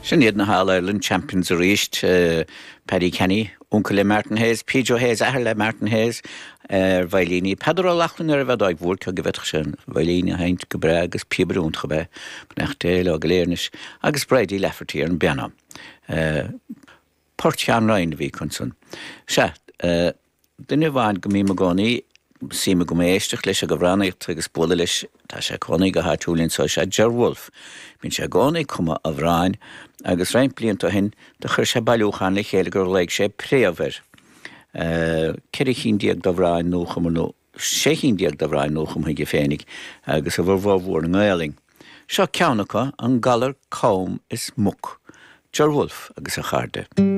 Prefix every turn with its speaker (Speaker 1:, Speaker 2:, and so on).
Speaker 1: Sin iad na hAll Ireland Champions arís, Paddy Canny, uncail le Martin Hayes, P. Joe Hayes, athair le Martin Hayes, ar veidhlíní, Peadar Ó Lochlainn ar an bhfeadóig mhór, cé go bhféadfadh sé an veidhlín a sheinnt go breá agus píobaire iontach ab ea é, beannacht Dé leo go léir anois, agus Bridie Lafferty ar an bpianó. Port Sheáin Ryan a bhí acu ansan. Sea, duine amháin go mbím i gcónaí, suim agam éisteacht leis ag amhránaíocht agus bualadh leis, tá sé ag cónaí go háitiúil anso, is ea Ger Wolfe. Bíonn sé i gcónaí ag cumadh amhráin agus roinnt blianta ó shin do chuir sé bailiúchán le chéile gur ghlaoigh sé Préamh air. 14 chinn d'amhráin nuachumtha nó 16 chinn d'amhráin nuachumtha aige féinig agus a bhformhór i nGaelainn. Seo ceann acu, An Galar Cam is Muc, Ger Wolfe agus a chairde.